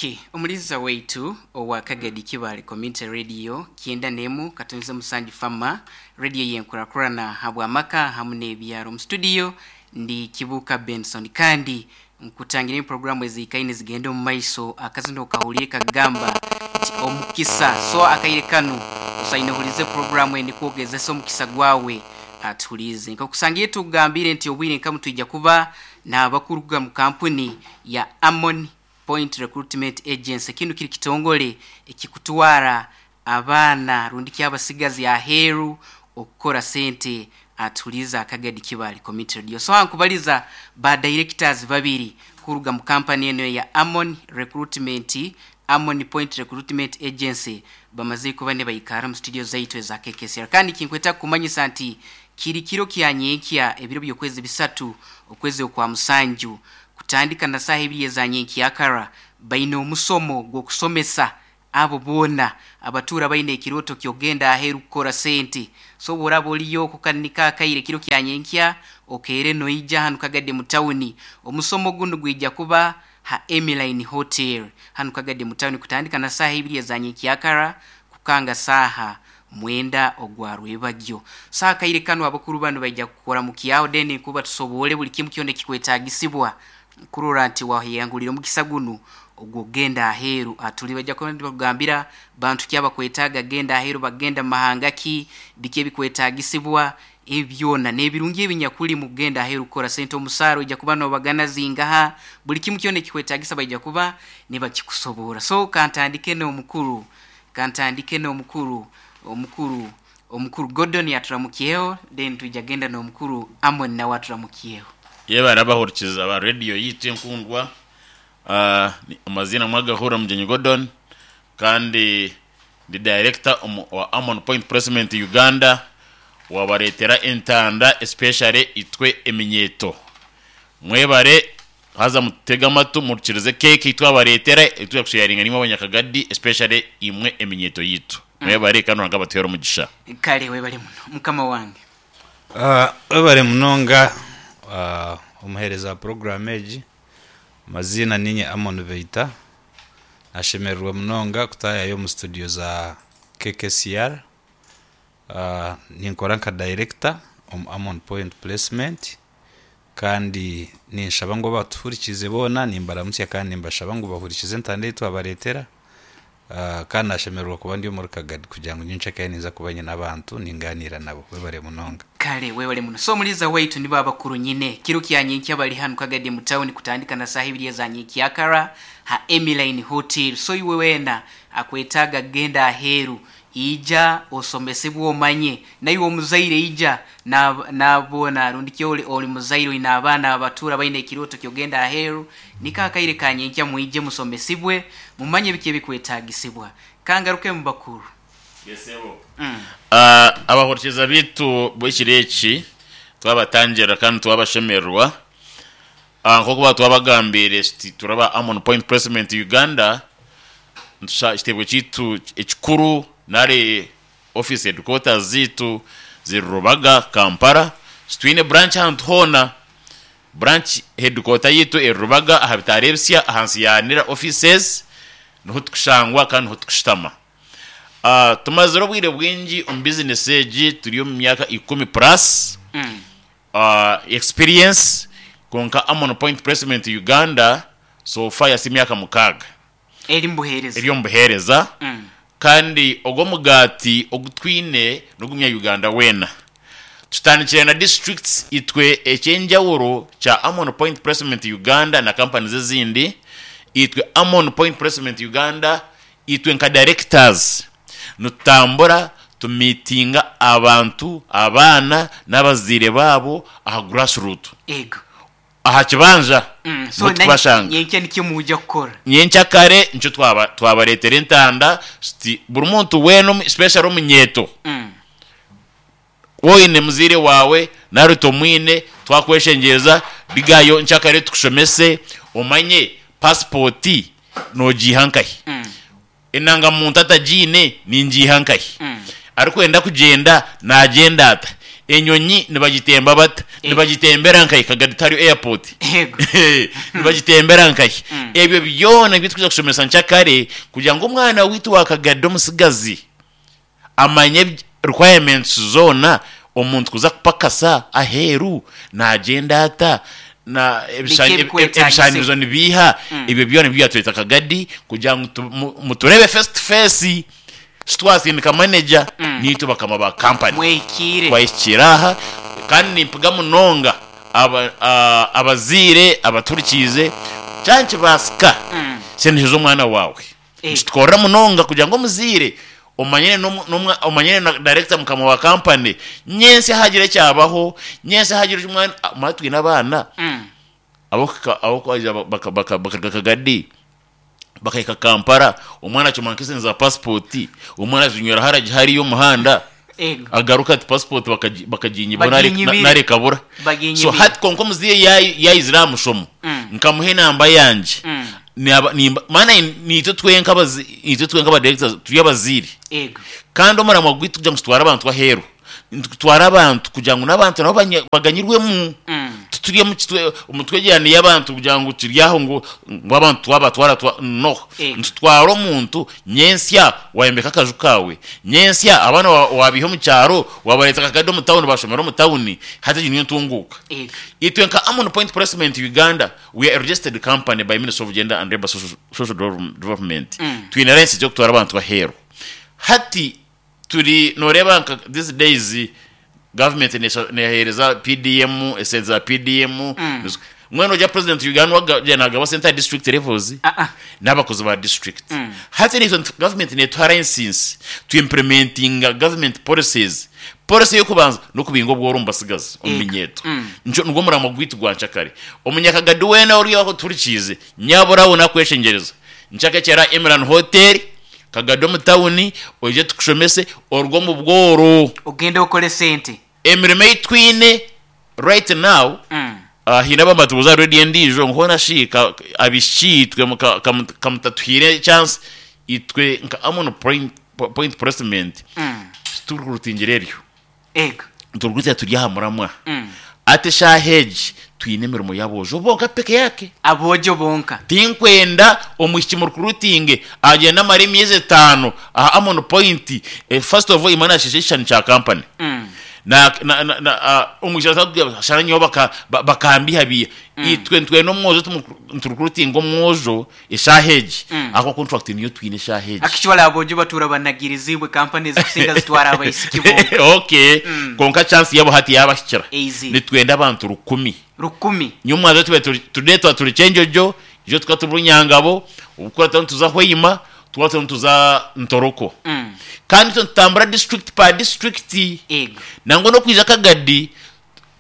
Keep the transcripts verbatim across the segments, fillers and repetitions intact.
Okay, omuliza waitu owa Kagadi Kibale Community Radio kyenda nemu katonze musanju fama radio yenkurakurana habwamaka hamu n'ebyaro. Mu studio ndi Kibuka Benson, kandi nkutangira programu ezikaine zigenda omu maiso. Akazino kahulire kagamba nti omukisa, so akaire kanu osaine hulize programu eni kwogezesa omukisa gwawe atuhulize. Nkakusangiye tugambire nti obwire nkamu twija kuba n'abakuruga mu kampuni ya Amon Point Recruitment Agency. Kinu kiri kitongole ekikutwara abaana rundi kyabasigazi aheeru okukora sente atuliza Akagadi Kibali Community Radio. So ankubaliza ba directors babiri kuruga mu kampani eno ya Amon Recruitment, Amon Point Recruitment Agency, bamaze kuba ne bayikara mu studio zaitu eza K K C R. Kandi kinkweta kumanyisa nti kiri kiro kya nyenkya ebiro by'okwezi bisatu okwezi okwa musanju kutandika na saha ibiri eza nyenkyakara baine omusomo gw'okusomesa abo boona abatura baine ekiroto kyogenda aheru kukora sente. So boraba oliyo kukanika akaire kiro kya nyenkya okere noija hanu Kagadi mu tawuni. Omusomo guno gwija kuba ha Emiline Hotel hanu Kagadi mu tawuni kutandika na saha ibiri eza nyenkyakara kukanga saha mwenda ogwa rwebagyo. Saha kaire kanu abakuru bano baija kukora mu kiao deni kuba tusobole buli kimu kyone kikwetagisibwa kurora nti wahiyangulira omukisa guno ogwogenda aheru. Atuli bajja kugambira bantu kyaba kwetaga genda aheru, bagenda mahanga ki bike bikwetagisibwa ebyona n'ebirungi ebinyakuli mugenda aheru kukora sente. Omusaro ijja kuba nobagana zingaha buli kimu kyone kikwetagisa bajja kuba nibakikusobora. So kantandike n'omukuru, kantandike n'omukuru, omukuru, omukuru Gordon yaturamukiyeho, then tujja genda n'omukuru Amon nawe aturamukiyeho. Yeba arabahurikiza ba radio yitu enkundwa. Uh, amazina mwagahura Mugenyi Gordon, kandi ndi director wa Amon Point Placement Uganda, wabaretera entanda especially itwe eminyeto. Mwebare haza mutega amatu murikirize keke itwe abaretera itwe kusharinga nimwe abanyakagadi especially imwe eminyeto yitu. Mwebare kano ngabatera omugisha. Kale webale muno mukama wange. Uh, webale munonga uh, omuhereza program egi. Mazina ninye Amon Veita. Nashemererwa munonga kutayayo mu studio za K K C R. Uh, ninkora nka director omu Amon Point Placement, kandi ninshaba ngu batuhurikize boona, nimbaramutsya kandi nimbashaba ngu bahurikize entanda ei twabareetera. Uh, kandi nashemererwa kuba ndi omuri Kagadi kugira ngu nyincekayo ninza kuba nyine abantu ninganiira nabo. Webale munonga. Kale webale muno. So muliza waitu nibo abakuru nyine kiro kya nyenkya bali hanu Kagadi mu town kutandika na saha ibiri za nyenkyakara ha Emiline Hotel. So iwe wena akwetaga genda aheru ija osomesebwe omanye naye omuzaire ija nabona rundi kyoli oli muzaire ina abaana abatura baine ekiroto kyogenda aheru nikakaire kanyenkya muije musomesibwe mumanye bike bikwetagisibwa. Kangaruke mu bakuru. Yesebo. Mm. Uh, abahurikiza bitu bw'ekireki twabatangira kandi twabashemererwa. Uh, nkokuba twabagambire turaba Amon Point Placement Uganda ntusha ekitebo kitu ekikuru nare office headquarters zitu zirubaga Kampala. Twine branch ahantu hona, branch headquarter yitu erubaga aha bitarebsya ahansi ya nira offices niho tukushangwa kandi niho tukushitama. Uh, tumazire obwire bwingi omu business egi turi omu myaka ikumi plus mm. uh, experience konka Amon Point Placement Uganda so far yasi myaka mukaga eri mbuhereza eri mbuhereza mm. Kandi ogwo mugati ogutwine nogumya Uganda wena tutandikire na districts itwe ekyenjawuro kya Amon Point Placement Uganda na companies ezindi. Itwe Amon Point Placement Uganda itwe nka directors nutambura tumitinga abantu abaana n'abazire babo aha grassroots ego aha kibanja. Mm, so twashanga nyenkya nikyo muja kukora nyenkya kare nicyo twaba twabaretera entanda sti buri muntu weno special omunyeto mm. woine muzire wawe naruto mwine twakweshengereza bigayo nchakare tukushomese omanye passport nogihankahi mm. enanga muntu atajine ningihankahi mm. arikwenda kugenda nagenda ata enyonyi nibagitemba bata Eh. nibagitembera nkahi Kagadi tari airport Ego. nibagitembera nkahi. Ebyo byona nibyo tukuza kushomesa nkyakare kugira ngu omwana witu wakagada omusigazi amanye ebi- requirements zoona omuntu kuza kupakasa aheeru nagenda ata na ebisha- Biki eb- ebikwetaagisa. ebishanizo nibiiha. Ebyo byona nibyo byatweta Kagadi kugira ngu tu- mu- muturebe face to face, sitwasindika manager, nitwe bakama ba company. Mwekiire. Twahikira aha kandi nimpiga munonga aba- a- abaziire abaturikiize kyankibasika sendeseza omwana wawe. Eh. Nikitukorera munonga kugira ngu omuziire omanyane n'omu- n'omwa- omanyane na director mukama wa company, nyensi hagira ekyabaho, nyensi hagira omwana mwana twine abaana Mm. abo bakaruga Kagadi bakahika Kampala, omwana acuma nk'esente za pasipoti, omwana azinywera haragi hariyo omuhanda. Ego. Agaruka ati pasipoti bakaginyibwa. Baginyibire. Narekabura. Baginyibire. So hati konka omuziire yayi- yayizire aha mushomo, nkamuha enamba yangye. Mm. Naba- nimba- maana nitwe twenka abazi- nitwe twenka abadirectors turi abaziire. Ego. Kandi omurimo gwaitu kugira ngu tutware abantu aheeru, tutware abantu kugira ngu n'abantu nabo banya- baganyirwemu. Mm. Tuturi omutwegeraniye abantu kugira ngu turi aho ngu ngu abantu twabatwara twa no. Ego. Ntitwara omuntu, nyensya wayembeka akaju kawe, nyensya abaana wa- wabiha omu kyaro, wabareta Kakadi omu tawuni, bashomera omu tawuni, hati egi niyo ntunguuka. Ego. Itwe nka Amon Point Placement Uganda, we are a registered company by Ministry of Gender and Labor Social, Social Develop- Development. Twine license yokutwara abantu aheeru. Hati turi noreba nka these days government nesha- nehereza P D M, esente za P D M. Mwene ojya president Uganda wagendaga center district levels Ah, ah. n'abakozi ba district. Hati nitwe government netuha license to implementinga government policies. Policy yo kubanza no kubinga obworo mu basigazi omu minyeto. Nco nigwo muramo gwitu gwa nshakare. Omunyakagadi wena ori aho turikize nyabura we nakweshengereza nshakekera Emerald Hotel Kagadi omu tawuni, oije tukushomese orwo mu bworo. Ogende okole sente. Emirimo ei twine right now, Mm. uh, hiine abamatubuza radio endiijo nkona shi ka- abishiki itwe muka- kamu- kamutatuhiire chance, itwe nka Amon Point, point Placement Mm. turikurutingira eryo. Ego. Turikurutingira turi aha muramwa. Mm. Ate shaheji twine emirimo y'aboojo bonka peke yake. Abojo bonka. Tinkwenda omwishiki murukurutinge agenda amara emyezi etaano aha Amon Point. eh, first of all, imana asheshe ekishani kya company. Mm. Na na na, na uh, omwishiki ashara nyowe baka ba- bakambihabiya. Itwe ntwena omwojo turukurutinga omwojo eshaheji ako contract niyo twine eshaheji. Actually abojo batura banagirizibwe, companies kusinga zitwara abaisiki bonka. Okay, konka chance yabo hati yabashikira. Easy. Nitwenda abantu rukumi. Rukumi. Nyuma tube turi turetwa turi Chenjojo, ijo tukaba turi Bunyangabo, ubukora tuza Hoima, tuba tuza Ntoroko. Mm. Kandi tutambura district per district. Ego. Nangwa no kwija Kagadi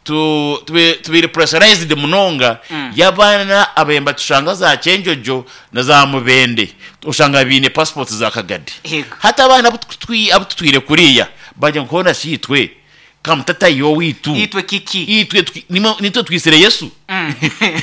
tu tube tubiri pressurized munonga y'abaana abayemba tushanga za Chenjojo na za Mubende, ushanga biine passport za Kagadi. Ego. Hati abaana abo tutwi- abo tutwire kuriya bajya nkubona shitwe kamutatayo witu. Itwe kiki? Itwe twi- nimo- nitwe twisire Yesu. Mm.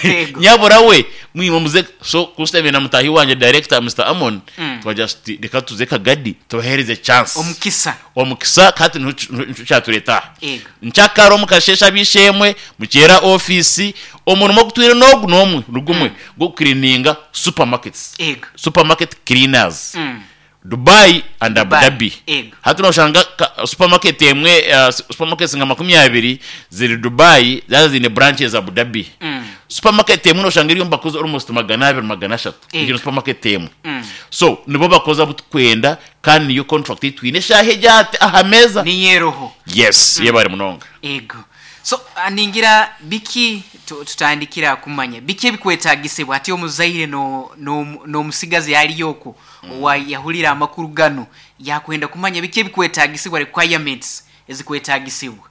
Ego. Nyabura we mwima muze so kusiteme na mutahi wanje director Mister Amon, twaja sti- reka tuze Kagadi tubahereze chance. Omukisa. Omukisa kati ncatureta. Ego. Nchakaro mukashesha bishemwe mukera ofisi omurimo gutwire nogu nomwe rugumwe go cleaninga supermarkets. Ego. Supermarket cleaners, Mm. Dubai and Abu Dubai. Dhabi. Ego. Hati noshanga ka- supermarket emwe, uh, supermarkets nga makumi abiri ziri Dubai, zaza zine branches Abu Dhabi. Mm. Supermarket emwe noshanga iriyo bakoze almost magana abiri, magana ashatu. Ego. Igino supermarket emwe. Mm. So nibo bakoze abo tukwenda kandi niyo contract twine shahe jate aha meza. Niyeroho. Yes, yebare munonga. Ego. So ah, ningira biki tu- tutandikira kumanya biki ebikwetagisibwa ati omuzaire no no- n'omusigazi aliyo okwo owa yahulira amakuru gano yakwenda kumanya biki ebikwetagisibwa, requirements ezikwetagisibwa.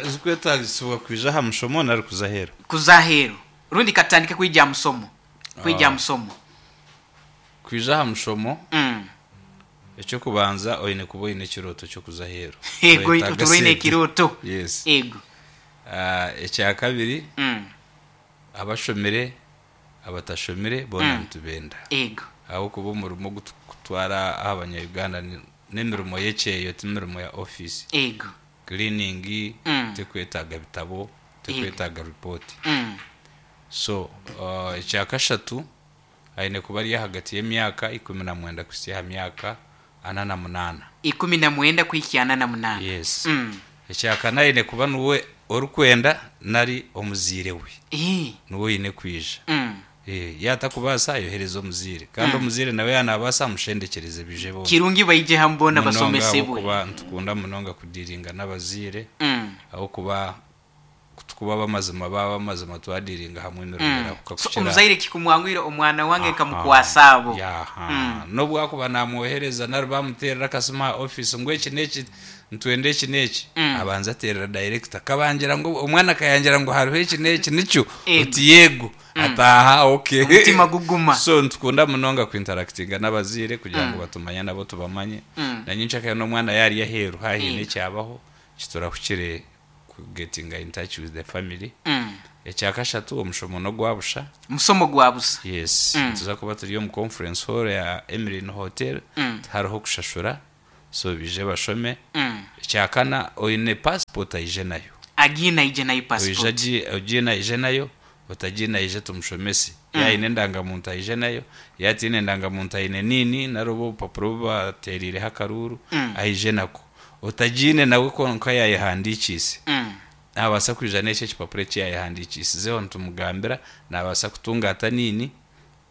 Ezikwetagisibwa kwija aha mushomo nari kuza aheeru? Kuza aheeru, rundi katandika kwija musomo kwija Ah. musomo. Kwija aha mushomo, mm. ekyokubanza oine kuba oine ekirooto kyokuza aheeru. Ego. Oyetaaga Oturoine sente. ekiroto. Yes. Ego. Ah, ekyakabiri, mm. abashomire, abatashomire boona nitubenda, ego ahabwokuba omurimo ogututwara aha abanya-Uganda ni- n'emirimo y'ekyeyo, ti mirimo ya office. Ego. Cleaning Mm. tekwetaaga bitabo, tekwetaaga report. mm. So uh, ekyakashatu, aine kuba ari ahagati y'emyaka ikumi na mwenda kuhitsya aha myaka ana na munaana. Ikumi na mwenda kuhikya ana na munaana. Yes. Mm. Ekyakana, aine kuba niwe orikwenda nari omuziire we Eh. niwe oine kwija. Mm. Eh, yatakubaasa, ayohereza omuziire, kandi omuziire nawe yanabaasa amushendekereze bije bombi. Kirungi baije hamwe boona Munonga, basomesebwe. ahabw'okuba nitukunda munonga kudiringa n'abaziire, Mm. ahabw'okuba tukuba bamazima, baba bamazima, twadiringa hamwe emirimo erahuka. So omuzaire kikumwangwire, omwana wange kamukwasa abo. Yaha, nobwakuba namwohereza nari bamuterera akasima aha office ngu eki neki, ntwenda eki neki, Mm. abanza aterera director, kabangira ngu omwana akayangira ngu hariho eki neki nikyo. Ego. Oti yego, ataha, okay. Omutima guguma. So nitukunda munonga kuinteractinga n'abaziire kugira ngu batumanye, nabo tubamanye. Mm. Nanyinshaka n'omwana yari aheeru haine Ego. ekyabaho kiturahukire kugetinga in touch with the family. Mm. Ekyakashatu, omushomo n'ogwabusha. Musomo gwa busa. Yes. Mm. Tuza kuba turi omu conference hall ya Emlyn Hotel. Mm. Hariho kushashura, so bije bashome. Mm. Ekyakana, oine passport aije nayo. Agiina aije nayo Oije. Passport. agi- ogiine aije nayo, otagiine aije tumushomese. Yaine endangamuntu aije nayo, yatiine endangamuntu aine nini nari oba obupapuro bubateriireho akaruru, Mm. aije nako. Otagiine nawe konka yayehandikiise, Mm. nabaasa kwija n'ekyo ekipapuro eki yayehandikiisizeho, nitumugambira nabaasa kutunga ata nini,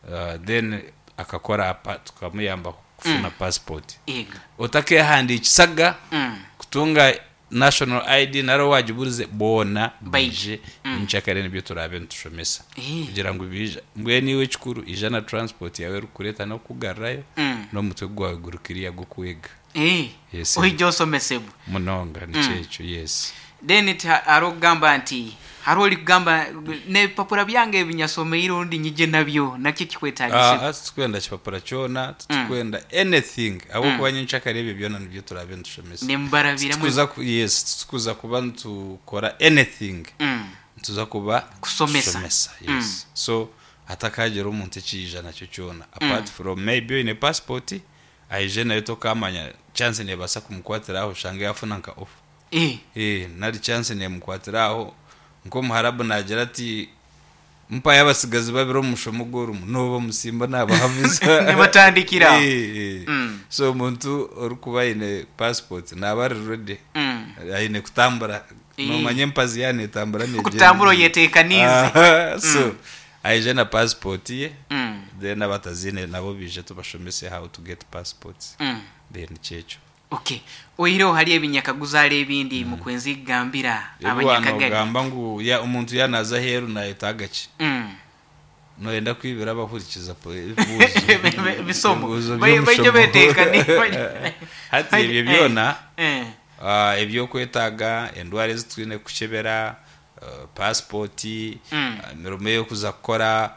uh, then akakora apa tukamuyamba kufuna passport. Ego. Otakehandikisaga Mm. kutunga national I D naro wagiburize, boona Baije. bije nkyakare, nibyo turabe nitushomesa Eh. kugira ngu bija. Mbwenu iwe ekikuru, ija na transport yawe erikureeta n'okugarrayo, Mm. n'omutwe gwawe gurikiriya gw'okwega. Eh. Yes. Oija osomesebwe. Munonga, nikyo ekyo, yes. Then ti hariho okugamba nti hariho ori kugamba n'ebipapura byange ebinyasomeire orundi nyije nabyo, nakyo kikwetagisibwa? Ah, titukwenda kipapura kyona, titukwenda anything, ahabwokuba nyenkyakare ebyo byona nibyo turabe nitushomesa. Nimubarabiramu. Tukuza ku- yes, tutukuza kuba nitukora anything, Mm. nituza kuba Kusomesa. tusomesa, yes. So hatakagira omuntu ekiija nakyo kyona apart from maybe oine passport aije nayo, tokamanya chance nebaasa kumukwatira aho oshange yafuna nka off. Eh. Eh, nari chance nemukwatira aho nk'omuharabu nagira ati mpayo abasigazi babiri omu mushomo gw'orumu, noba omusimba nabahaviza. Nibatandikira aho. Eh, eh. Mm. So omuntu orikuba aine passport naaba ari ready, Mm. aine kutambura. Eh. Nomanya empazi yanetambura. Kutambura oyeteekaniize. So aije na passport ye. Mm. Then abatazine nabo bije tubashomese how to get passports. Mm. Then kyekyo. Okay, oihireho hari ebinyakaguza, hari ebindi mukwenzi kugambira abanyakagari? Ogamba ngu ya omuntu yanaza aheeru nayetaaga ki? Mm. Noyenda kwibira abahurikiza po- ebibuuzo? Ebisomo. Ebibuuzo Bai- baije by'omushomo. beteekani. Hati ebyo byona, Eh. ah, ebyokwetaaga, endwara ezi twine kukyebera, uh, pasipoti, Mm. ah, emirimo y'okuza kukora,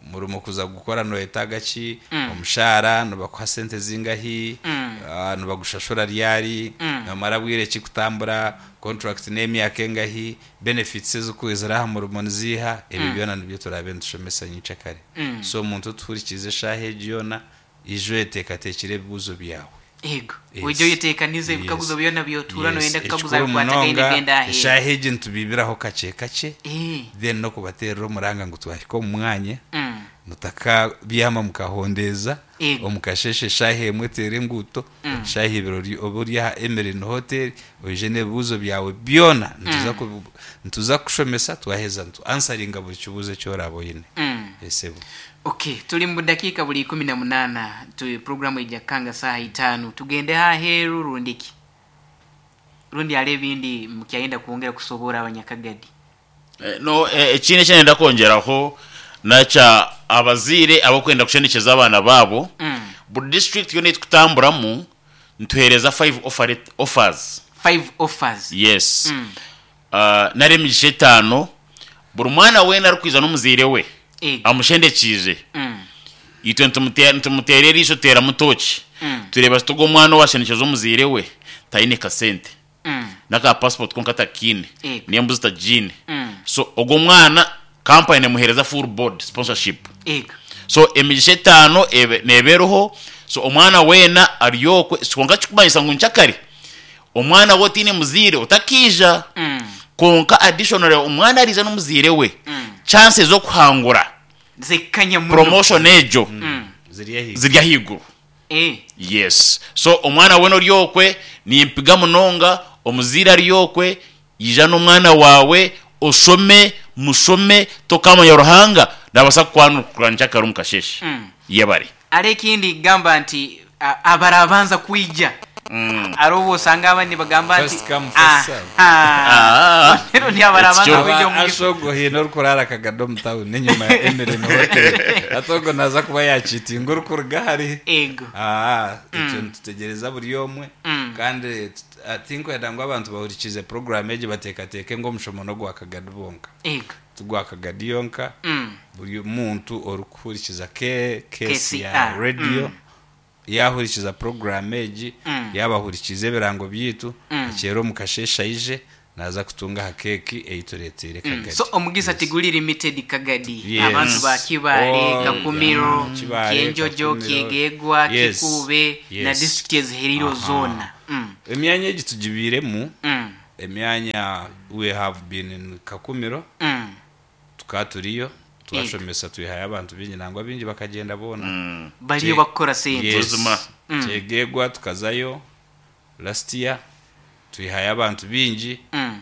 umurimo kuza gukora noyetaaga ki, Mm. omushahara nibakuha sente zingahi, Mm. ah, nibagushashura ryari, Mm. nomara bwire ki kutambura, contract n'emyaka engahi, benefits eziri aha murimo niziiha, ebyo byona nibyo turabe nitushomesa nyincakare. Mm. So omuntu otuhurikize eshaaha egi yona, ije oyeteekateekire ebibuuzo byawe. Ego. Yes. Oije oyeteekanize ebikaguzo Yes. byona byotuura Yes. noyenda kukaguza Ekikuru bikwatagaine munonga, genda aheeru. eshaaha egi nitubibiraho kakye kakye, Eh. then nokubaterera omuranga ngu twahika omu mwanya, Mm. mutakabyama mukahondeza. Ego. Omukasheshe eshaaha emwe teera enguuto, shaaha ibiri ori- oba ori aha Emerin Hotel, oije n'ebibuuzo byawe byona. Nituza ku- nituza kushomesa, twaheza ntu ansaringa buri kibuuzo eki oraba oine. Mm. Esebo. Okay, tuli mu dakiika buli ikumi na munaana, tu programu ejja kukanga saaha itaano. Tugende aheeru rundi ki, rundi hali ebindi mukyayenda kwongera kusoboora abanyakagadi? Eh, no eh, ekindi ekyenda kwongeraho nakya abaziire abakwenda kushendekeza abaana baabo, Mm. buri district yona etukutamburamu nituhereza five offer, offers. Five offers. Yes. Mm. uh, nari emigisha etaano buri mwana weena arikwiza n'omuzaire we Ego. amushendekiize, Mm. itwe nitumute- nitumuteera eriisho, tuteera mutoki, Mm. tureeba tuga omwana owashendekeza omuzaire we taine kasente, Mm. n'aka passport konka takiine, Ego. n'embuzi tagiine, Mm. so ogwo mwana kampani emuhereza full board sponsorship. Ego. So emigisha etaano ebe- nebeeroho, so omwana weena aryokwe. Konka kikumanyisa ngu nkyakare omwana we otiine muziire otakiija. Mm. Konka additionally omwana ariija n'omuziire we, Mm. Chances z'okuhangura Zekanya muno. Promotion ejo Ziri ahaiguru. Ziri ahaiguru. Eh. Yes, so omwana wena ori okwe nimpiga munonga, omuzaire ari okwe, ija n'omwana wawe oshome, mushome. Tokamanya, Ruhanga nabasa kukwanukura nkyakare omu kasheshe. Mm. Yebare. Ari ekindi gamba nti a- abarabanza kwija ari obu osanga abandi bagamba nti First come, first serve. Ah, Ah. rero ni abarabanza It's kwija omu Ashogo hine orikurara akagado omu tawuni enyuma ya Emirene Hotel, atogo naza kuba yakitinga orikuruga hari. Ego. Ah, ekyo nitutegereza buri omwe. Mm. Kandi tut- ah, tinkwenda ngu abantu bahurikize program egi bateekateeke ngu omushomo n'ogwa Kagadi bonka. Ego. Tugwa Kagadi yonka. Mm. Buri muntu orikuhurikiza K- K C R K C R, radio mm. yahurikiza program egi, Mm. yabahurikiza ebirango byitu, Mm. akyera omu kasheshe aije naza kutunga aha keeki eyitureteire Kagadi. So omugisa tiguli limited Kagadi. Yes. Abantu ba Kibale, Oh, Kakumiro, yeah. Kibale, Kyenjojo, Kakumiro. Kyegegwa, Yes. Kikuube na Yes. district eziherire Aha. zoona. Mm. Emyanya egi tugibiiremu. Mm. Emyanya, we have been in Kakumiro. Mm. Tukaba turiyo twashomesa, twihayo abantu bingi, nangwa bingi bakagenda boona. Bariyo Kye- bakukora sente. Yes. Buzima. Kyegegwa tukazayo last year, twihayo abantu bingi. Mm.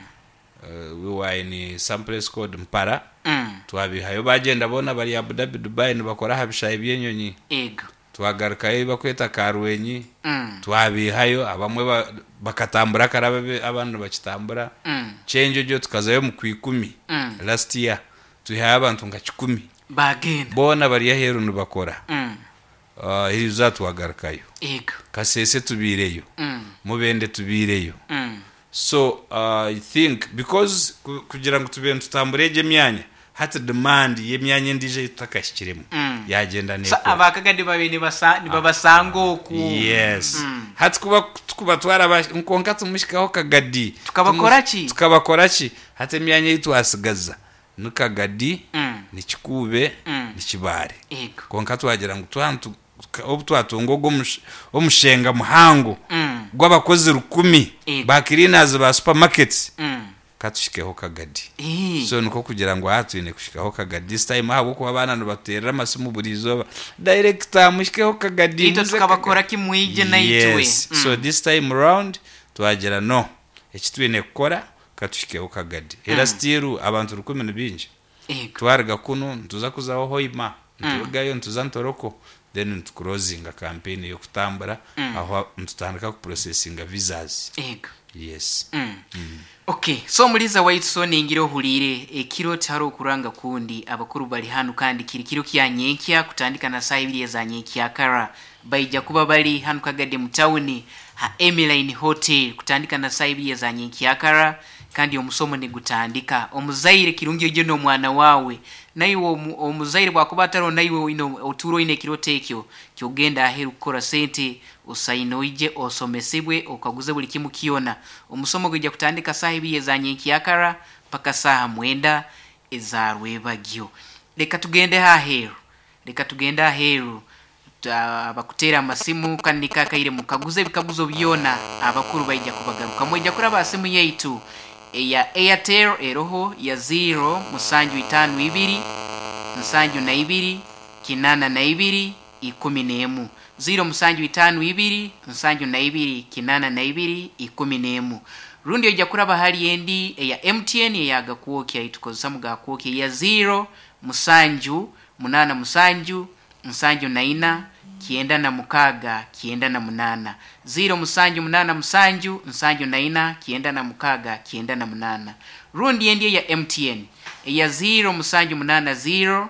uh, we were in some place called Mpara. Mm. Twabihayo bagenda boona, bari Abu Dhabi, Dubai, nibakora aha bishayi by'enyonyi. Ego. Twagarukayo bakweta Karwenyi. Mm. Twabihayo abamwe ba- bakatambura karaba, abandi bakitambura. Mm. Kyenjojo tukazayo mu kwikumi Mm. last year, twihayo abantu nka kikumi. Bagenda. Boona bari aheeru nibakora. Mm. uh, hiriza twagarukayo. Ego. Kasese tubiireyo. Mm. Mubende tubiireyo. Mm. So uh, I think because ku- kugira ngu tube nitutambura egyo emyanya, hati demand y'emyanya endiijo ei tutakahikiremu Mm. yagenda So nekura. abakagadi babe nibasa nibabasanga oku. Yes. Mm. Hati kuba tukuba twaraba nkonka tumushikaho Kagadi, Tukabakora ki? Tukabakora ki? Hati emyanya ei twasigaza ni Kagadi, Mm. ni Kikuube, Mm. ni Kibaare. Ego. Konka twagira ngu twantu obu twatunga ogwo omush- omushenga muhango Mm. gw'abakozi rukumi Ego. ba cleaners ba supermarkets, Mm. katushikeho Kagadi. Eh. So niko kugira ngu aha twine kushikaho Kagadi this time, ahabwokuba abaana nibaterera amasimu buri izooba, "Director, mushikeho Kagadi, Itwe muze tukabakora Kagadi." kimwije naitwe. Yes. Mm. So this time round twagira no eki twine kukora, katushikeho Kagadi. Era still abantu rukumi ni bingi. Ego. Twariga kuno nituza kuzaho Hoima, niturugayo nituza Ntoroko, then nituclosinga campaign yokutambura, aho nitutandika kuprocessinga visas. Ego. Yes. Mm. Okay, so muliza waitu, so ningira ohulire ekiro tihari okuranga kundi, abakuru bali hanu kandi kiri kiro kya nyenkya kutandika na saa ibiri eza nyenkyakara. Baija kuba bali hanu Kagadi mu tawuni ha Emiline Hotel kutandika na saa ibiri eza nyenkyakara, kandi omusomo nigutandika. Omuzaire kirungi oije n'omwana wawe, naiwe omu- omuzaire bwakuba atariho naiwe oine otuura oine ekiroto ekyo kyogenda aheeru kukora sente, osaine oije osomesibwe, okaguze buli kimu kyona. Omusomo gwija kutandika saaha ibiri eza nyenkyakara paka saaha mwenda eza rwebagyo. Leka tugende aheeru, leka tugende aheeru. Ta- bakuteera amasimu kandi nikakaire mukaguze ebikaguzo byona, abakuru baija kubagarukamu. Ijja kuraba simu yaitu eya Airtel eroho ya zero musanju itano ibiri nsanju na ibiri kinana na ibiri ikumi n'emu, zero musanju itano ibiri nsanju na ibiri kinana na ibiri ikumi n'emu. Rundi ojja kuraba hali endi eya M T N eya gakwokya itukozesa mu gakwokya ya zero musanju munana musanju nsanju na ina kienda na mukaga kienda na munana, zero musanju munana musanju nsanju na ina kienda na mukaga kienda na munana. Rundi endi eya M T N eya zero musanju munana zero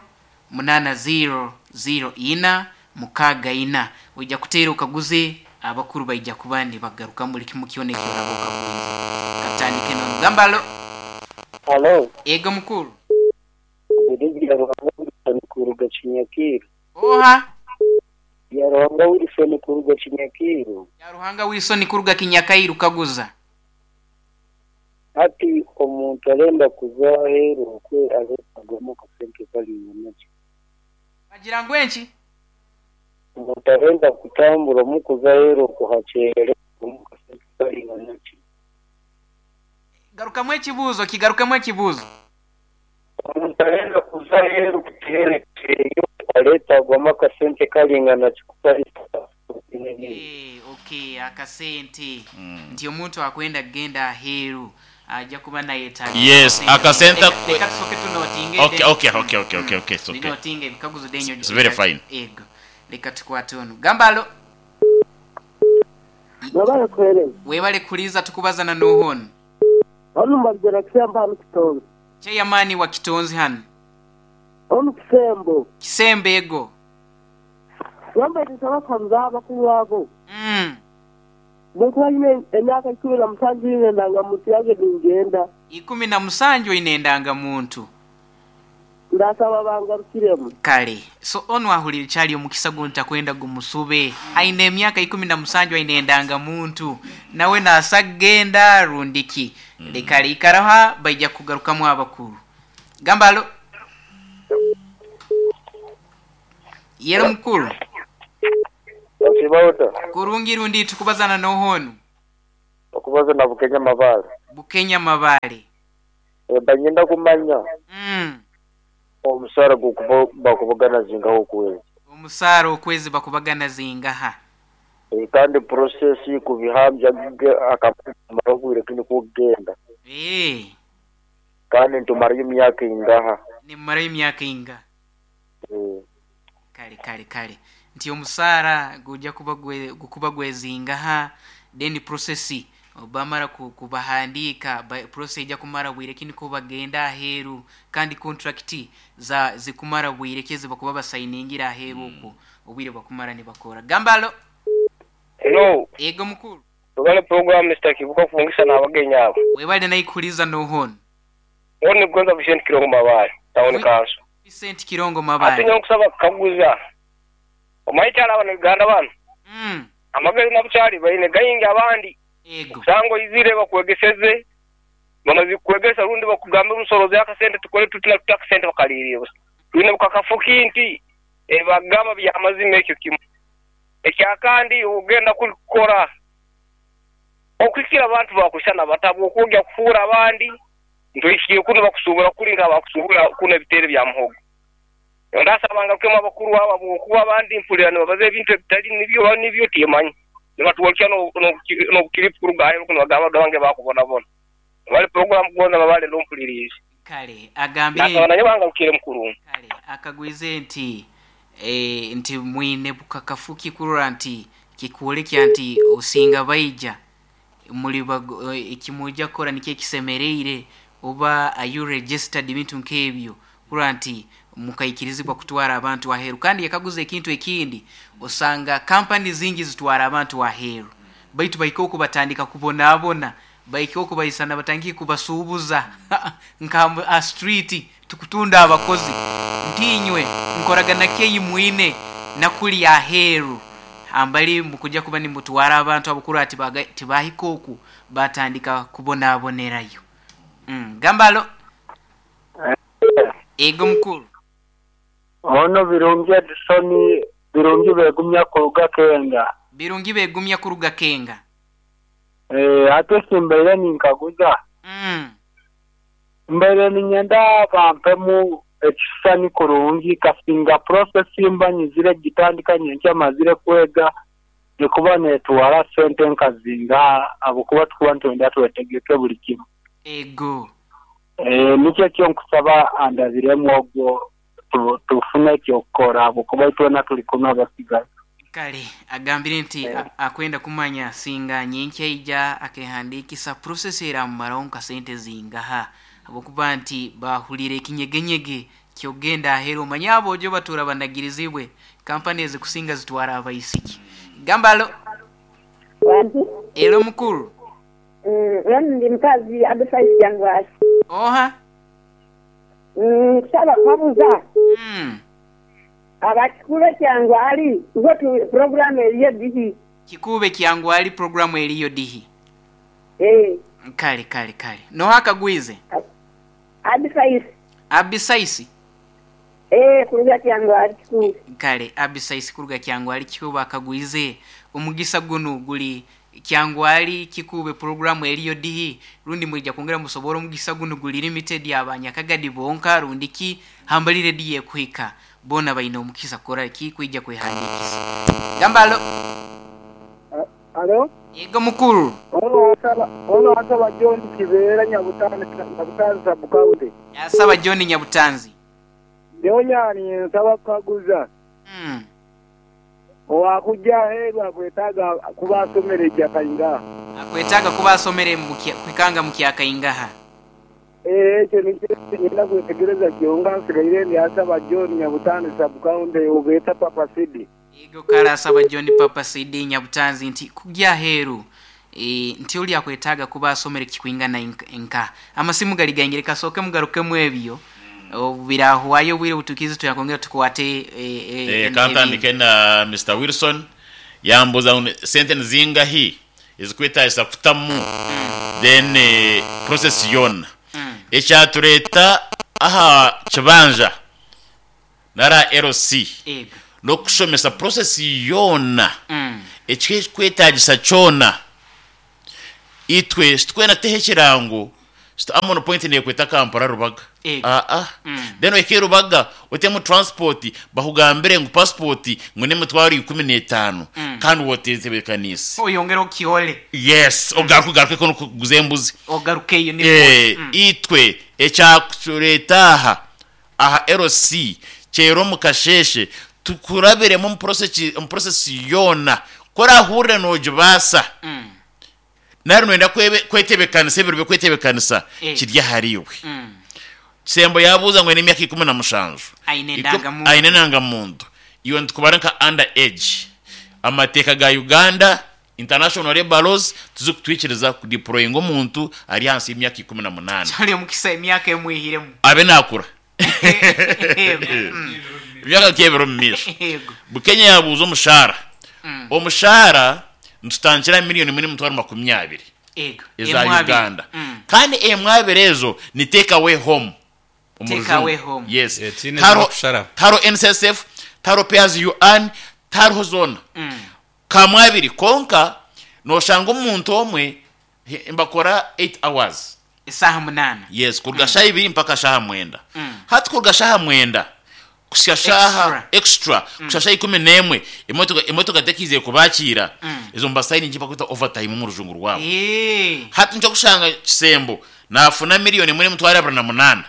munana zero zero ina mukaga ina. Ojja kuteera okaguze, abakuru baija kuba nibagaruka buli kimu kyona ekyoraba okaguze. Katandike nonugamba alo. Halo, Ego mukuru. Biri Ruhanga Wilson kuruga Kinyakiru. Oha? Ya Ruhanga Wilson kuruga Kinyakiru. Ya Ruhanga Wilson kuruga Kinyakairu, kaguza. Hati omuntu arenda kuza aheeru okwe aretagamo akasente karingana ki? Bagira ngu enki? Omuntu arenda kutambura mu kuza aheeru okuhakyere mu kasente karingana ki? Garukamu ekibuuzo, kigarukamu ekibuuzo. Omuntu arenda Omukuza aheeru kuteerekeeyo areetagwamu akasente karingana kikutarisa. Eh, okay, akasente nti omuntu akwenda kugenda aheeru ajja kuba nayetaaga Yes, akasente Leka- akwe- leka tusooke tunotinge. Okay, okay, okay, okay, okay, okay, it's okay. Ndinotinga ebikaguzo denyo. It's very fine. Ego, leka tukwate ono. Gambalo. Mwebale kuhereza. Webale kuliza, tukubazana nohono. Ono mbagera kisembo hano Kitonzi. Chairman wa Kitonzi hano. Ono Kisembo. Kisembo ego. Wambaire abakanza abakuru abo. Mm. Bwekuba nyine emyaka ikumi na musanju nyine endangamuntu yange ningenda. Ikumi na musanju oyine endangamuntu. Ndasaba bangarukiremu. Kale so ono ahulira kyali omukisa guno takwenda gumusube. Ayina emyaka ikumi na musanju, ayina endangamuntu, nawe naasa kugenda rundiki. Leka liikaraha, baija kugarukamu abakuru. Gambalo yero mukuru. Osibauta. Kurungi rundi, tukubazana nohonu. Okubaza na Bukenya Mabale. Bukenya Mabale. Banyenda kumanya mm. omusara gukuba bakubagana zingaho okwezi. Omusara okwezi bakubagana zingaha. E, kandi process kubihambya akamara obwire kini kugenda. Eh. Kandi ntumara emyaka ingaha. Nimara emyaka inga. E. Kale kale kale nti omusara gujja kuba gwe, gukuba gwezingaha, then process obamara kubahandika process ejja kumara bwire kini ko bagenda aheeru, kandi contract za zikumara bwire keze bakuba basayiningira aheeru okwo obwire bakumara ne bakora. Gambalo. Hello. Ego mukuru. Tugale program Mister Kibuka kufungisa na abagenyi abo. Webale nayikuliza nohono. Wone Gonza Vicente Kirongo Mabale, town council. Vicente Kirongo Mabale. Ate nyokusaba kaguza. Omayikyala abana Uganda bano. Mm. Amagezi nabukyali bayine gayingi abandi. Ego. Sango izire bakwegeseze. Bamaze kwegesa rundi bakugambe omusorozi akasente tukole tutila tutakasente bakaliriye busa. Twine bukakafuki nti ebagamba bya amazima ekyo kimu. Ekyakandi ogenda kukora okukira abantu bakushana batabwo okujja kufuura abandi ntoishiye kuno bakusubura kulinga bakusubura kuno ebitere bya muhogo. Ndasabanga kema abakuru aba bokuba abandi mpulira nibabaza ebintu ebitali nibyo nibyo timanyi. Nibatuwakya no no kiripu kurugayo kuno bagamba bange bakubonabona. Bali program kugonza babale lompulirize. Kale agambire Ndasaba banga ukire mukuru. Kale akagwize nti eh nti mwine bukakafuki kurora nti kikuolekya nti osinga baija muli ekimuja kora nikye kisemereire oba are you registered ebintu nkebyo kurora nti mukaikirizibwa kutwara abantu aheru. Kandi yakaguza ekintu ekindi, osanga company zingi zitwara abantu aheru baitu baiko kubatandika kubonabona, baiko kubayisana batangiye kubasubuza nka a street tukutunda abakozi ntinywe nkoragana keyi mwine nakuli aheru ambali mukujja kuba nimutwara abantu abukuru ati tibahikoku batandika kubonabonerayo. Mm, gambalo. Ego mukuru. Ono Birungi Edison, Birungi begumya kuruga Kenga. Birungi begumya kuruga Kenga. Eh, ate simbaire ninkaguza. Mm. Mbaire ninyenda bampemu ekisani kurungi kasinga process mbanyizire gitandika nyenkya mazire kwega nikuba netwara sente nkazinga abukuba tukuba ntwenda twetegeke buli kimu. Ego. Eh, nikyo kyo nkusaba andabiremu ogwo tufune kyokora abukuba itwena tuli kumwe abasigaye. Kale agambire nti yeah. Akwenda kumanya singa nyenkya ija akehandikisa process era maronka sente zingaha abokuba nti bahulire ekinyegenyege kyogenda ahero manyabo ojo batura banagirizibwe company ezikusinga zitwara abaisiki. Gambalo. Ero mukuru. Mm, ndi mkazi advice yangu. Oha. Mm, saba kabuza. Mm. Abakikube kyangu ali gotu program eriyo dihi. Kikube kyangu ali program eriyo dihi. Eh. Kale kale kale. No hakagwize. Abisaisi. Abisaisi. Eh, kuruga kyangu ali kikube. Kale abisaisi kuruga kyangu ali kikube akagwize omugisa gunu guli Kyangwali, Kikuube programu eriyo dihi, rundi mwija kwongera musobora omugisa gunu guli limited abanyakagadi bonka rundi ki hambali rediyo ekuhika bona baine omukisa kukora ki kwija kwehandikisa. Gambalo. Alo? Yego mukuru. Ono asaba ono asaba John Kibeera Nyabutanzi Nyabutanzi sub-county. Asaba John Nyabutanzi. Nyonya nsaba kukaguza. Mm. Owakujja aheeru akwetaaga kuba asomere ekyakaingaha. Akwetaaga kuba asomere mu kya- kwikanga mu kyakaingaha. Eh, ekyo nikyo nyenda kwetegereza kyonka nsigaire ndi asaba John Nyabutanzi sub-county obeeta Papa Sidi. Yego kale asaba John Papa Sidi Nyabutanzi nti kujja aheeru e, nti oli akwetaaga kuba asomere kikwingana inka- nka amasimu gali gaingire kasooke mugarukemu ebyo obu birahwayo obwire butukize tuyakongera tukwate e, e, Eh, en- kantandike na Mr Wilson yambuza ngu sente nizingahi ezikwetagisa kutamu then eh, process yona ekyatureta aha kibanja nara L C Ego. n'okushomesa process yona Mm. ekikwetagisa kyona. Itwe sitwena teho ekirango Amon Point nekweta Kampala, Rubaga. Ego. Aa, then ohike Rubaga otemu transport, bakugambire ngu passport ngu n'emitwaro ikumi n'etaano kandi wotetebekanisa. Oyongera okihole. Yes, ogaruke ogaruke kono kuguza embuzi. Ogarukeyo ni Eh, itwe ekyakutureta aha aha L C kyero omu kasheshe tukurabiremu omu process- omu process yona korahurire nogibaasa nari noyenda kwebe- kwetebekanisa ebiro byokwetebekanisa Eh. kiri ahariwe. Kisembo yabuuza ngu aine emyaka ikumi na mushanju. Aine Iku- endangamuntu. Aine endangamuntu, iwe nitukubara nka under age. Amateeka ga Uganda, international labour laws, tuzikutwikiriza kudeployinga omuntu ari hansi y'emyaka ikumi na munaana. Kyali omukisa emyaka emwihiremu. Abe nakura. Yego. Mm. Emyaka nk'ebiro omu maisho. Yego. Bukenya yabuuza omushahara. Omushahara nitutangira miliyoni imwe n'emitwaro makumi abiri Ego. eza Emwe abiri. Uganda. Mm. Kandi emwe abiri ezo ni take away home omu Take Rujungu. away home. Yes. Eh, tiine Taro- kushara. Taro N S S F, taro pay as you earn, tariho zona kamwe abiri. Konka noshanga omuntu omwe he- mbakora eight hours. Esaaha munaana. Yes, kuruga shaha ibiri mpaka shaha mwenda. Hati kuruga shaha mwenda kusika shaha extra kusika shaha ikumi n'emwe, emotoka emotoka tekize kubakiira. Ezo mbasaini bakwita overtime mu rujungu rwabo. Eh. Hati nco kushanga Kisembo nafuna miliyoni imwe n'emitwaro abiri na munaana,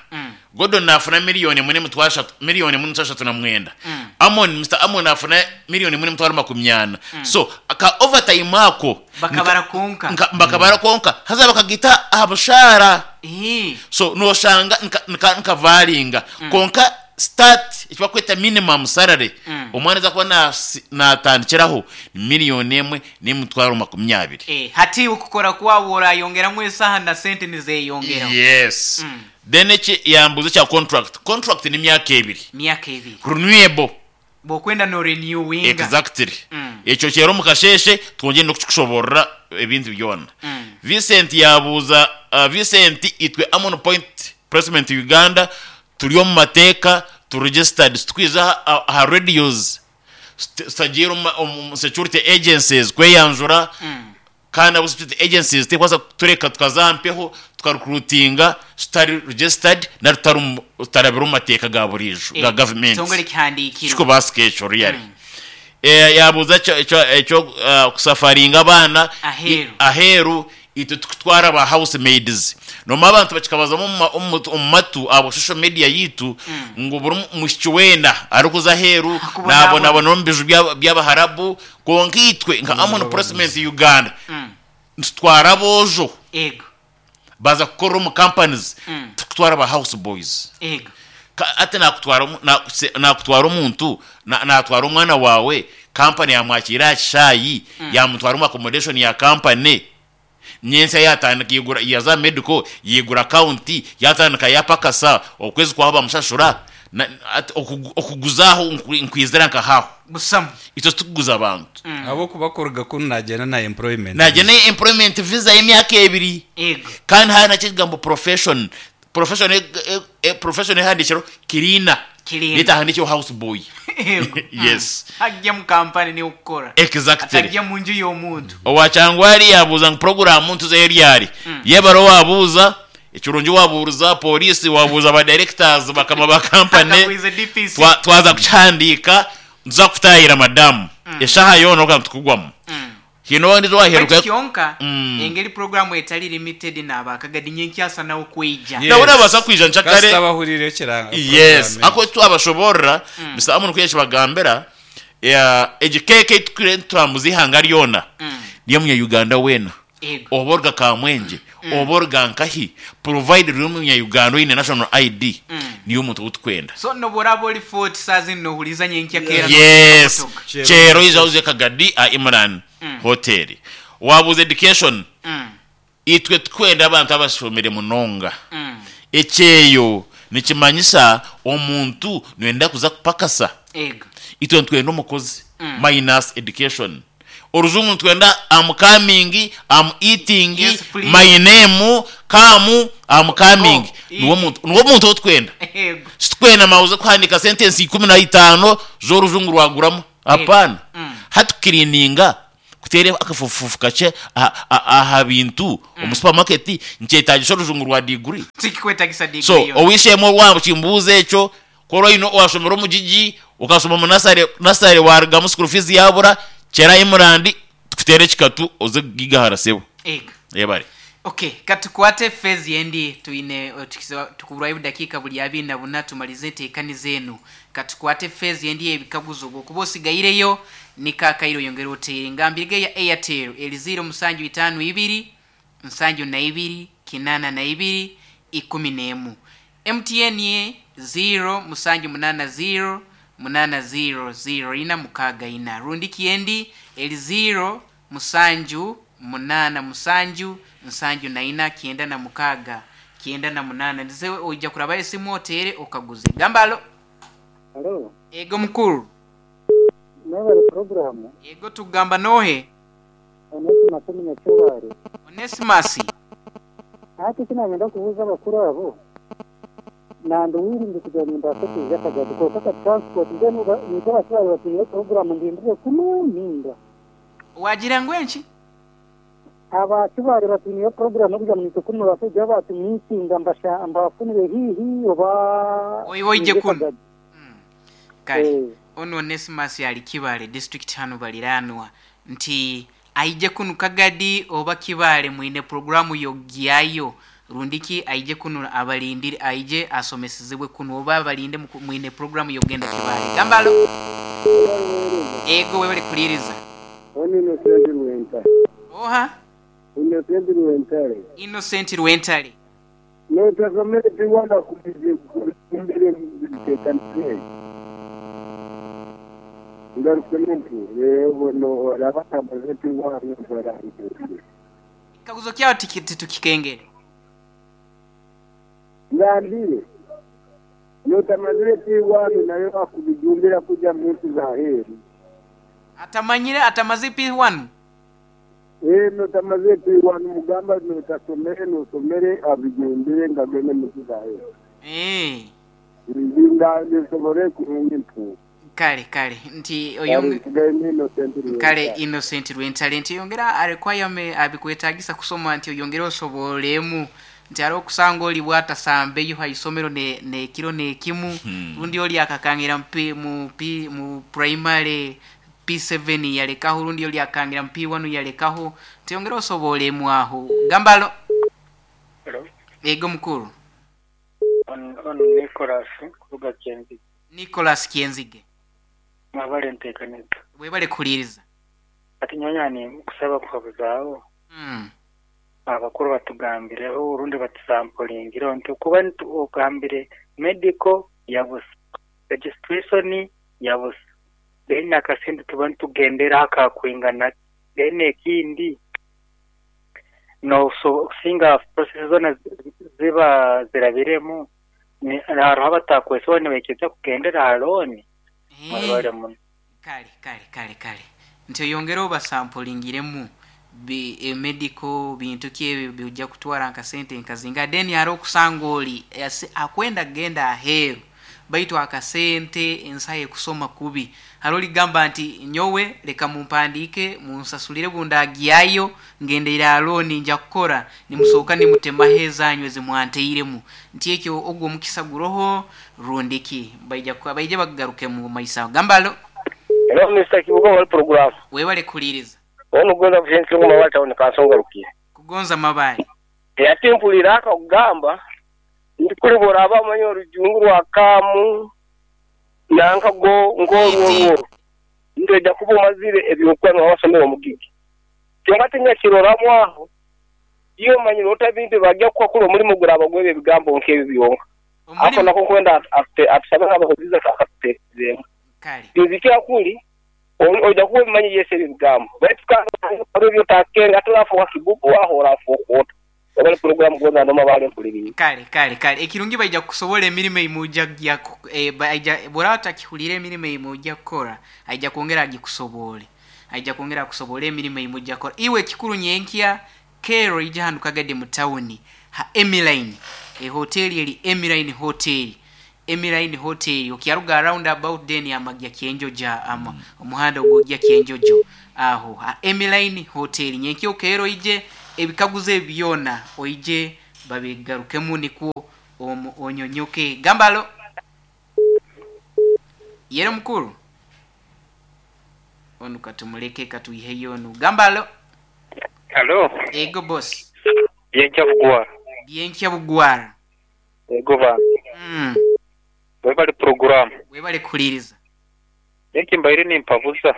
Gordon nafuna miliyoni imwe n'emitwaro ashatu, miliyoni imwe n'emitwaro ashatu na mwenda, Amon, Mr Amon nafuna miliyoni imwe n'emitwaro makumi ana. So aka overtime ako Bakabara konka. nka- bakabara konka haza bakagita aha bushara. Eh. So noshanga nka- nka- nkavaringa konka start ekibakweta minimum salary omwana aza kuba nasi- natandikiraho ni miliyoni emwe n'emitwaro makumi abiri. Eh, hati ukukora kwawo orayongeramu esaha na sente nizeyongeraho. Yes. Then eki yambuza kya contract. Contract ni myaka ebiri. Myaka ebiri. Renewable. Bwokwenda no renewinga. Exactly. Ekyo kyero omu kasheshe twongere n'okukikushoborora ebintu byona. Vincent yabuuza, uh, Vincent, itwe Amon Point Placement Uganda turi omu mateeka, tu registered, tukwiza aha, aha radios tutagiire omu omu security agencies kweyanjura. Kandi abo security agencies tekwasa kutureka tukaza mpeho tukarecruitinga tutari registered na tutari mu- tutarabira omu mateeka ga burijo ga government. Kitongole kihandikirwe. Kikubasika ekyo really. Eh, yabuuza ekyo- ekyo ekyo uh, kusafaringa abaana Aheeru. I- aheeru itwe tukutwara ba housemaids. Noma abantu bakikabazamu omu ma- omu omu matu abo social media yitu ngu buri mushiki wena arikuza aheeru Akubonabona. nabonabona omu biju by'aba- by'abaharabu. Konka itwe nka Amon Placement Uganda nitutwara aboojo Ego. baza kukorera omu companies, tukutwara ba house boys. Ego. Ka- ate nakutwara omu- na- se- nakutwara omuntu na- natwara omwana wawe, kampani yamwakira aha kishaayi, yamutwara omu accommodation ya kampani, nyensa yatandika yigura yaza medical, yigura account, yatandika yapakasa, okwezi kwaho bamushashura. Na- ate okugu- okuguzaho nkwi- nkwizira nkahaho. Busamu. Itwe tukuguza abantu. Abo kubakoraga kunu nagenda na employment. Nagenda employment visa y'emyaka ebiri. Ego. Kandi hari nakyo ekigambo profession. Profession e- e- e- profession ehandikiro cleaner. Cleaner. Netahandikiro house boy. Ego. Yes. Ajja mu kampani niukukora. Exactly. Atajja mu nju y'omuntu. Owachangwari yabuuza ngu program ntuzeyo ryari, yebaro wabuuza ekirungi, wabuuza polisi, wabuuza ba directors bakama ba company. Akakwize D P C. Twa- twaza kukihandiika, ntuza kutahira madamu eshaha yoona oka tukugwamu hino ndizo waheruka. Baitu kyonka Mm. engeri programu etali limited n'abakagadi nyenkyasa nawo kweija. Yes. Nabona basa kwija nchakare. Kasita bahurire ekiranga Yes. program. Ako twabashoborera bisa amuntu kuyesha bagambira ya egikeke tukire turamuza ihanga ryona niyo munya Uganda wena. Ego. Oborga kamwenje, oborga nkahi, provide ruri munya Uganda oyine national I D, niyo omuntu utukwenda. So noboraba oli forty saa zino nohuliza nyenkya kera. Yes. Nokutoka. Chero. Chero iza uze Kagadi a Imran Hotel. Wabuze education. Mm. Itwe tukwenda abantu abashomere munonga. Mm. Ekyeyo nikimanyisa omuntu nwenda kuza kupakasa. Ego. Itwe ntwenda omukozi minus education. Oruzungu ntwenda am coming, am eating. Yes, please. My name come, am coming. Go, Niwo muntu, niwo muntu otwenda. Ego. Situkwenda mauze kuhandika sentence ikumi na itaano z'oruzungu rwaguramu, hapana. Mm. Hatukirininga kutere akafufufu kache aha- aha aha bintu omu supermarket, nkyetagisa oruzungu rwa degree? Tikikwetagisa degree So yo. owishemo wambu kimbuuza ekyo korwa ino washomera omugigi, ukasoma mu nasare, nasare warugamu school fees yabura, kyera Imurandi tukutere ekikatu oze gigahara sebo. Ego. Yebare. Okay, katukwate phase yendi tuine eh, tukisa- tukuburwayo dakika buli abiri na buna tumalize enteekani zenu. Katukwate phase yendi ebikaguzo bwokuba osigaireyo nikakairo yongera oteere ngambirige ya Airtel eri ziro musanju itaano ibiri nsanju na ibiri kinana na ibiri ikumi n'emu, M T N ye ziro musanju munana ziro munana ziro ziro ina mukaaga ina, rundi kiendi eri ziro musanju munana musanju nsanju na ina kyenda na mukaaga kyenda na munana. Ndize oija kuraba esimu otere okaguze gambalo. Halo. Ego mukuru. Mwebale programu. Ego, tugamba nohe? Onesimus Munyakibaare. Onesimus. Hati kinagenda kubuuza abakuru abo, nanduwirinde kugira ngu mbaase kwija Kagadi, konka ka transport mbwenu nitwe abakibaare batiire programu ndindire kuno ninda. Wagira ngu enki? Abakibaare batiire programu kugira ngu nitwe kuno bakwija batumiitinga mbasha mbafunire hihi oba. Oi- oije nje kuno. Kagadi. Kale. Eh. Ono Onesimus ali Kibaale district hano baliranwa nti aije kunu Kagadi oba Kibaale mwine programu yogyayo, rundiki aije kunu abalindire, aije asomesezebwe kunu oba abalinde muku- mwine programu yogenda Kibaale. Gambalo. Ego, webale kuliriza. Ono Innocent Rwentare. Oha? Innocent Rwentare. Innocent Rwentare. Notasomere tiwanda kumbire bitekanise. Ngaruke nti rero no rabatamaze tiwanda barangije. Kaguzo kyawo tiki- tukikengere. Ngambire. Notamazire tiwanda nayo akubijumbira kuja muntu za heri. Atamanyire atamaze P one. Eh, notamaze tiwanda mugamba notasomere nosomere abijumbire ngagende muntu za heri. Eh. Ndinga nisobore kurungi mpu. Kale kale nti oyonge. Kale Innocent Rwentale nti yongera arequirement abikwetagisa kusoma nti oyongere osobolemu nti ari okusanga oli bwatasambeyo haisomero ne nekiro nekimu, rundi oli akakangira mu P- mu P- mu primary P seven yalekaho, rundi oli akangira mu P one yalekaho, nti yongera osobolemu aho. Gambalo. Hello. Ego mukuru. On, on Nicholas kuruga Kyenzi. Nicholas Kienzige. Mwabale nteekaniza. Webale kuliriza. Ati nyonyani kusaba kuhabuzaawo mm. abakuru batugambireho urundi batusampulingireho nti kuba ntu- ogambire medical yabusa, registration yabusa, then akasente tuba nitugenderaho akakwingana, then ekindi no so singa process zona zi- ziba zirabiremu ni- hariho abatakwesobola nibaikiriza kugendera ha loan. Mwebale muno. Kale kale kale kale nti oyongere obasampulingiremu. bi e medical bintu ki ebyo bijja kutwara nka sente nkazinga. Then hariho okusanga oli ase- akwenda kugenda aheeru baitu akasente ensaha ekusoma kubi. Hariho oligamba nti nyowe leka mumpandiike munsasulire bundagyayo ngendeire aha looni nja kukora nimusooka nimutemaho ezanyu ezimwanteiremu, nti ekyo ogwo omukisa guroho rundiki baija ku- baija bakugarukemu maiso aho. Gambalo. Hello Mister Kibuga wali program. Webale kuhuliriza. Ono gonza bushensi ngoma wali town kansonga rukiye. Kugonza mabale. Ati mpulira akakugamba ndi kuli boraba omanyi orujungu rwa kamu nanka go ngorwo ndeja kuba omazire ebyokuba wasomera omugigi kyonka tinyakiroramu aho iyo manyire otabintu bajja kukakula omulimu guraba gwebyo ebigambo nk'ebyo byonka ako nako nkwenda atusabe nk'abahuliza akatuteekezeemu bizikira kuli ojja kuba obimanyi yese ebyo ebigambo baitu kandi ebyotakenga ate orafuuka kibubu aho orafuuka ota obali program gonza ndoma bale mpuliriye. Kale kale kale ekirungi baija kukusobola emirimu eimuja gya eh, baija bw'oraba otakihulire emirimu eimuja kukora aija kwongera agikusobole, aija kwongera akusobole emirimu eimuja kukora. Iwe ekikuru nyenkya kero ija hanu Kagadi mu tawuni ha Emiline, ehoteli eri Emiline Hotel, Emiline Hotel okyaruga round about then amagya Kyenjoja ama omuhanda ogwogya Kyenjojo aho ha Emiline Hotel. Nyenkya okero ije ebikaguzo ebyona oije babigarukemu nikwo onyonyoke. Gambalo yere mukuru onu katumuleke katuiheyo onu. Gambalo. Hello. Ego boss. Byenkya bugwara. Byenkya bugwara. Ego ba. Mm. Webali program. Webali kuhuliriza. Neki mbaire nimpabuza.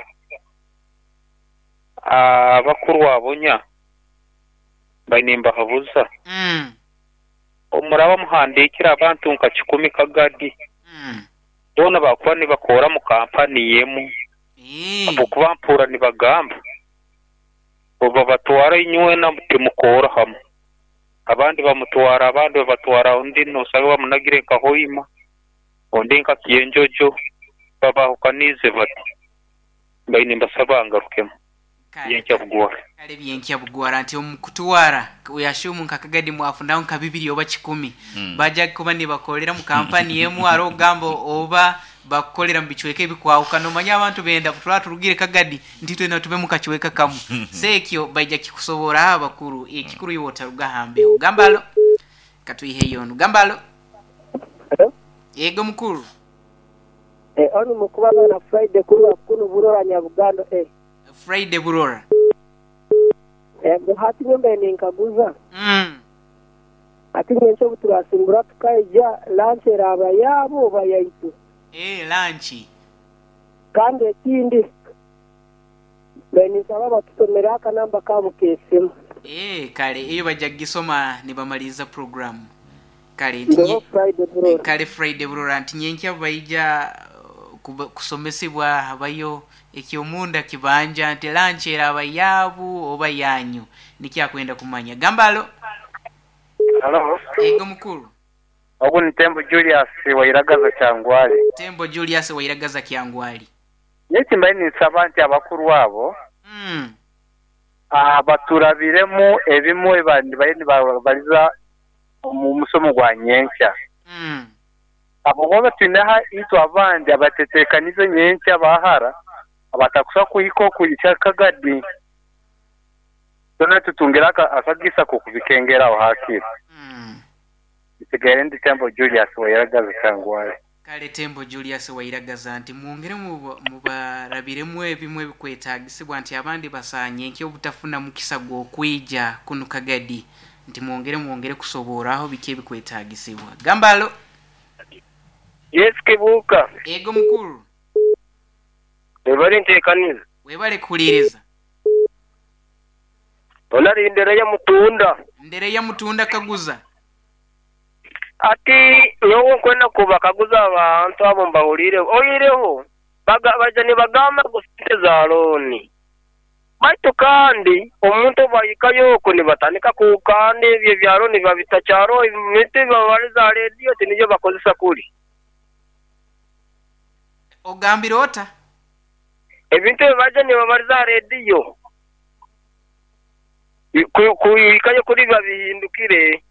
Abakuru abonya baine mbahabuza. Mm. Omuraba muhandikira abantu nka kikumi Kagadi. Mm. Bona bakuba nibakora mu kampani yemu. Eh. Abukuba mpura nibagamba oba batwara inywe na timukora hamwe. Abandi bamutwara, abandi babatwara undi nosabe bamunagire nka Hoima, undi nka Kienjojo, babahukanize bati baine mbasaba ngarukemu. Byenkya bugwara. Kale byenkya bugwara nti omukutwara uyashumu nka Kagadi mwafundaho nka bibiri oba kikumi. Mm. Baja kuba nibakolera mu kampani yemu aro gambo oba bakukolera mu bicweka ebikwahukana. Omanya abantu benda tura turugire Kagadi nti twena tube mu kacweka kamu. Sekyo baija kikusobora abakuru ekikuru iwe otaruga hambeho. Gambalo katuiheyo onu. Gambalo. Hello? Yego mukuru. Eh onu mukuba na Friday kuruwa kuno Burora Nyabugando eh. Friday Burora. Ego hati nyumba ninkaguza. Mm. Ati nyencho buturasimbura tukaija lunch eraba yabo bayaitu. Eh lunch. Kandi ekindi beni sababa tusomera akanamba kabo kesimu. Eh kale iyo bajja gisoma nibamaliza program. Kale nti Friday Burora. Kale Friday Burora nti nyenkya baija kusomesebwa abayo ekyomunda kibanja nti lunch eraba yabu oba yanyu nikyakwenda kumanya. Gambalo. Hello. Ego mukuru. Ogu ni Tembo Julius Wairagaza Kyangwali. Tembo Julius Wairagaza Kyangwali. Neki mbaye nisaba nti abakuru abo mm. abaturabiremu ebimu ebandi baye nibabaliza mu musomo gwa nyenkya. Mm. Abo boba tunaha itwa abandi abatetekanize nyenkya bahara abatakusa kuhiko kuyicha Kagadi. Tona tutungira akagisa ko kubikengera aho hakiri. Mm. Isigere ndi Tembo Julius Wairagaza Kyangwali. Kale Tembo Julius Wairagaza nti mwongere mubarabiremu ebimwe ebikwetagisibwa nti abandi basanye nkyo obutafuna mukisa gw'okwija kuno Kagadi nti mwongere mwongere kusoboraho biki ebikwetagisibwa. Gambalo. Yes Kibuka. Ego mukuru. Webale ntekaniza. Webale kuhuliriza. Onari ndere ya mutunda. Ndere ya mutunda kaguza. Ati nyowe nkwenda kubakaguza abantu abo mbahulire oyireho baga baja nibagamba gusente za looni baitu kandi omuntu bayikayo nibatandika kukanda ebyo bya looni babitakyaro emiti babaliza rediyo tinibyo bakozesa kuli. Ogambire ota ebintu baja nibabaliza rediyo Kuhikayo kuri babihindukire.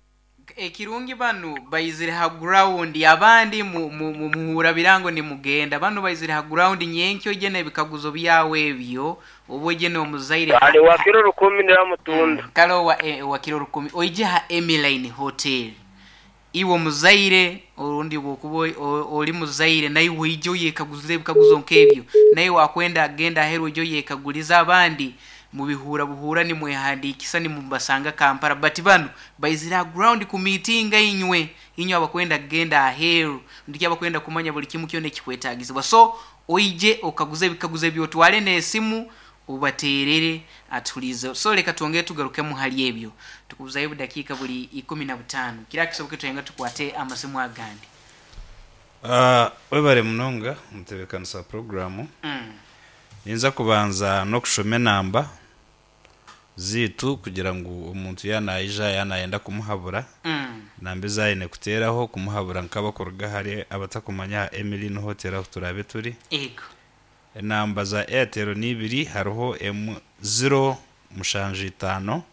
Ekirungi banu baizire ha ground, abandi mu- mu- mu- muhura birango nimugenda. Banu baizire ha ground nyenkyo ije n'ebikaguzo byawe ebyo, oba ije n'omuzaire. Ale wakiro rukumi niramutunda. Kale owa, eh, wakiro rukumi oije ha Emiline Hotel. Iwe omuzaire orundi bwokuba oi- o- oli muzaire naiwe oije oyekaguze ebikaguzo nk'ebyo, naye wakwenda agenda aheru oije oyekaguliza. Abandi mubihura buhura nimwehandikisa nimubasanga Kampala, but bano baizire ha ground ku meetinga inywe inywe abakwenda kugenda aheru, ndiki abakwenda kumanya buli kimu kyona ekikwetagizibwa. So oije okaguze ebikaguzo ebyo, otwale n'esimu ubaterere atulize. So leka twongere tugarukemu hali ebyo, tukubuzayo budakiika buli ikumi na butaano kira kisoboke twenga tukwate amasimu agandi. Ah, webare munonga omutebeekanisa puroguramu. Mm. Ninza kubanza n'okushoma enamba ziitu kugira ngu omuntu yanayija yanayenda kumuhabura, Mm. namba ezayine kuteeraho kumuhabura nk'abakuruga hare abatakumanya aha Emily Hotel ahu turabe turi. Ego. Enamba za Airtel ni ibiri, hariho emu ziro mushanju itaano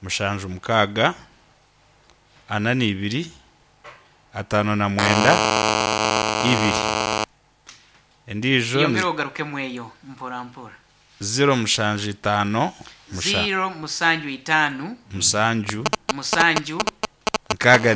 mushanju mukaaga ana n'ibiri ataano na mwenda ibiri, endiijo ni Yongera ogarukemu eyo mpora mpora. Ziro mushanju itaano musha Ziro musanju itaano musanju musanju nkaaga.